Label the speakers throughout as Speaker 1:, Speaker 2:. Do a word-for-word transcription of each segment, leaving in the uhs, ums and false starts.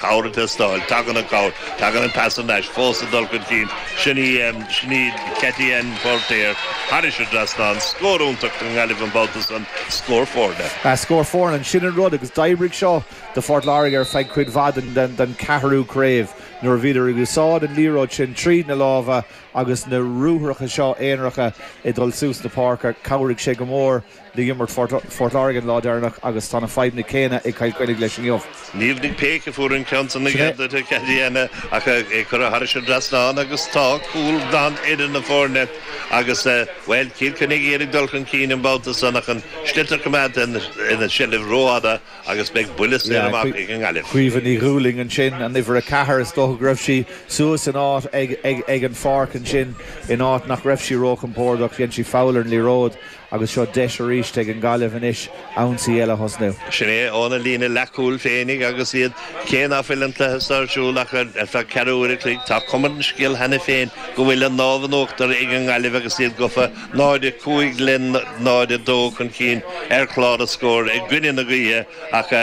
Speaker 1: Cabhair ag teastáil, tagann an chabhair, tagann an pas anois, fós ag dul chun cinn, sin í, sin í Katie-Ann Póirtéir thairis an dtrasnán, scór iontach don nGaillimh an babhta san, scór foirne.
Speaker 2: Scór foirne, sin an rud agus d'oibrigh seo do Phort Láirge ar feadh cuid mhaith den den ceathrú craobh nuair a bhíodar ag úsáid an liathróid sin tríd na lámha agus na ruathracha seo aonaracha ag dul suas na páirce, chabhraigh sé go mór le himirt Phort Láirge an lá deireanach agus tá na fadhbanna céanna ag Cill Chainnigh leis inniu.
Speaker 1: Niamh Nic Péic a fuair an ceann san aige Katie-Ann ach é curtha thairis an dtrasnán agus tá cúl glan idir na foirne agus, bhuel, Cill Chainnigh iad ag dul chun cinn an babhta san ach an sliotar coimeádta ina seilbh rófhada agus beidh buille saor amach ag an nGaillimh.
Speaker 2: Caoimhe Ní Dhúlaing ansin, an uimhir a ceathair, is dócha go raibh sí suas in áit ag ag an pháirc ansin in áit nach raibh sí róchompordach, dhein sí foul ar an liathróid agus seo deis arís ag an Ghaillimh anois ionsaí eile a thosnú.
Speaker 1: Sin é óna líne leathchúil féinig agus iad, cé ná fuil an cluiche seo ar siúl ach ar feadh ceathrú uair a chloig, tá cuma ar an scéal cheana féin go bhfuil an lámh in uachtar ag an nGaillimh agus iad gafa náid a cúig le náid a dó chun cinn ar chlár na scór i gcoinne na gaoithe ach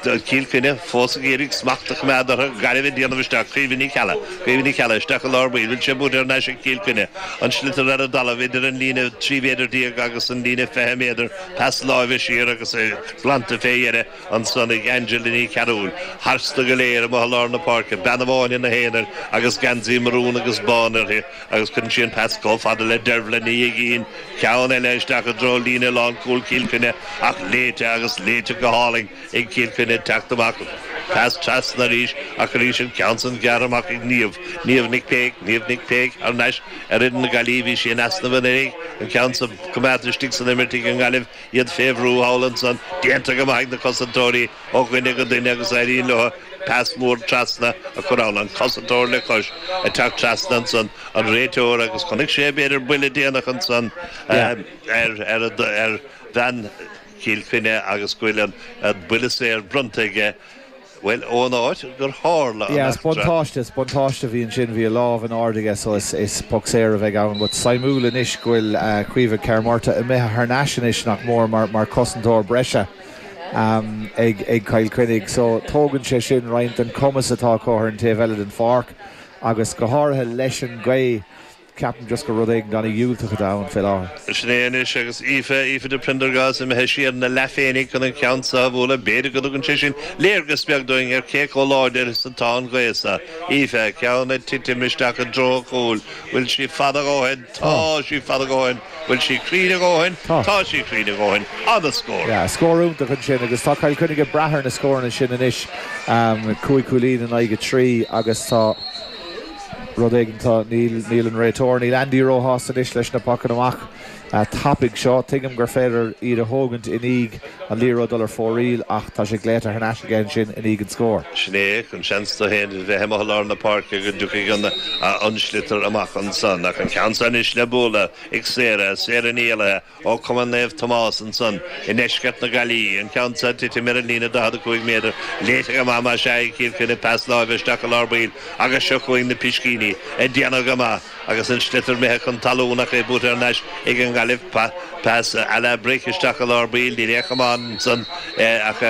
Speaker 1: Cill Chainnigh fós ag iarraidh smacht a choimeád orthu, Gaillimh ag déanamh isteach, Caoimhe Ní Cheallaigh, Caoimhe Ní Cheallaigh isteach i lár baill, bhfuil sé buaite thar n-ais ag Cill Chainnigh, an sliotar ar an dtalamh idir an líne trí mhéadar déag agus an líne fiche méadar, pas láimhe siar agus é glanta fé dheireadh ansan ag Angela Ní Chearúil, tharstu go léir amuigh i lár na páirce, bean amháin ina haonar agus geansaí marún agus bán uirthi agus cuireann sí an pas chomh fada le Dervla Ní Uigín, ceann eile isteach i dtreo líne lánchúil Chill Chainnigh ach léite agus léite go hálainn. ag Cill Chainnigh ag teacht amach, pas trasna arís ach arís an ceann san gearrtha amach ag Niamh, Niamh Nic Péic, Niamh Nic Péic thar n-ais ar fhoireann na Gaillimhe, bhí sí in easnamh anuraidh, an ceann san coimeádta istigh san imirt ag an nGaillimh, iad fé bhrú thall ansan, déanta go maith ag na cosantóirí ó dhuine go duine agus éiríonn leo pas mór trasna a chur ann, an cosantóir le cois ag teacht trasna ansan, an réiteoir agus chonaic sé b'fhéidir buille déanach ansan ar ar bhean Chill Chainnigh agus go bhfuil an buille saor bronnta aige, bhuel, ón áit gur tharla an
Speaker 2: Yeah, is
Speaker 1: eachtra.
Speaker 2: buntáiste, is buntáiste a bhí ansin, bhí a lámh in airde aige so is, is poc saor a bheidh ann. But suimiúil anois go bhfuil Caoimhe Kerr-Murtagh imithe thar n-ais anois nach mór mar, mar cosantóir breise um, ag, ag Cill Chainnigh. So tógann sé sin roinnt den cumas atá acu ar an taobh eile den pháirc agus go háirithe leis an gaoth. Ceapaim just gur rud éigin an-dhiúltach atá ann fé láthair.
Speaker 1: Sin é anois agus Aoife, Aoife de Prendergast imithe siar ina leath féinig chun an ceann seo a bhualadh. B'fhéidir go dtugann sé sin léargas beag dúinn ar cé chomh láidir is atá an ghaoth seo. Aoife, ceann ag titim isteach i dtreo an chúil. Bhfuil sí fada a dhóthain? Tá sí fada a dhóthain. Bhfuil sí cruinn a dhóthain?
Speaker 2: Tá.
Speaker 1: Tá sí cruinn a dhóthain. An-scór.
Speaker 2: Yeah, scór iontach ansin agus tá Cill Chainnigh ag brath ar na scóranna sin anois. Cúig chúilín in aghaidh a trí agus tá. Rud éigin, tá, níl, níl an réiteoir, níl Andy róshásta anois leis na pocanna amach tapaidh seo. Tuigim gur féidir iad a thógaint i ndiaidh an liathróid dul ar fóraoil ach tá sé glaoite thar n-ais aige ansin i ndiaidh an scóir.
Speaker 1: Sin é, an seans dó féin a bheith amuigh i lár na páirce go dtiocfaidh an, an sliotar amach ansan. Ach an ceann seo anois le bualadh ag Sarah, Sarah Ní Éallaithe ó Chumann Naomh Tomás ansan i ndeisceart na Gaillimhe. An ceann seo ag titim ar an líne daichead a cúig méadar. Léite go maith más ea ag Cill Chainnigh, pas láimhe isteach i lár baill. Agus seo chugainn na piscíní ag déanamh go maith agus an sliotar imithe chun talún ach é buaite thar n-ais ag an nGaillimh. Pas à la Bric isteach i lár baill, níl aon chamán ansan ach.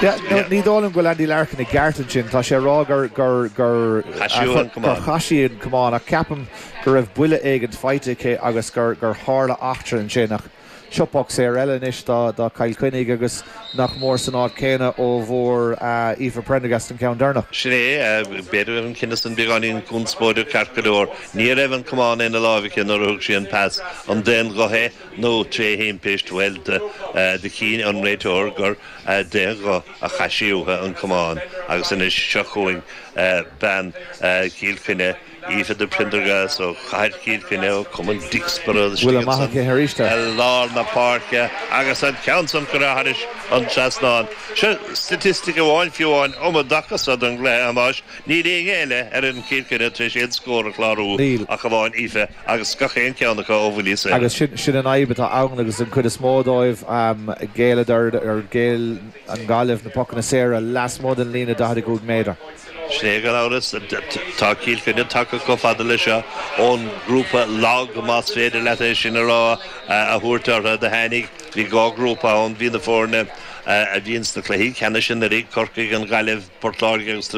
Speaker 2: Yeah, no, ní dóigh liom go bhfuil Andy Larkin i gceart ansin. Tá sé ag rá gur, gur, gur,
Speaker 1: Chaith sí uaithi an
Speaker 2: gur
Speaker 1: camán.
Speaker 2: chaith sí an camán ach ceapaim go raibh buille éigint faighte aici agus gur, gur tharla eachtra ansin ach Seo poc saor eile anois do Chill Chainnigh agus nach mór san áit chéanna ó bhfuair Aoife Prendergast an ceann deireanach.
Speaker 1: Sin é, b'fhéidir go raibh an cinneadh san beagáinín conspóideach ceart go leor. Ní raibh an camán ina láimh aici nuair a thug sí an pas. An d'aon ghuth é nó tré thimpist? Bhuel, do chinn an réiteoir gur d'aon ghuth a chaith sí uaithi an camán agus anois seo chugainn bean Chill Chainnigh, Aoife de Prendergast ó Chathair Chill Chainnigh, ó Chumann Dicksboro
Speaker 2: Buille
Speaker 1: istigh
Speaker 2: maith
Speaker 1: ansan
Speaker 2: aici arís
Speaker 1: i lár na páirce agus an ceann san curtha thairis an trasnán. Seo staitistic amháin fiú amháin um an dtaca so don gcluiche, a Thomáis, níl éinne eile ar fhoireann Chill Chainnigh tar éis aon scór a chlárú
Speaker 2: Níl.
Speaker 1: ach amháin Aoife agus gach aon ceann acu ó bhuillí saora.
Speaker 2: Agus sin sin an fhadhb atá ann agus an chuid is mó dóibh ghéilleadar ar ghéill an Ghaillimh na pocanna saora lasmuigh den líne daichead a cúig méadar.
Speaker 1: Sin é gan amhras. Tá Cill Chainnigh tagtha chomh fada leis seo ón ngrúpa lag, más féidir leat é sin a rá, a thabhairt orthu. Do tháinig, bhí dhá ghrúpa ann, bhí na foirne a bhíonn sna cluichí ceannais sin ar Corcaigh an Ghaillimh Port Láirge agus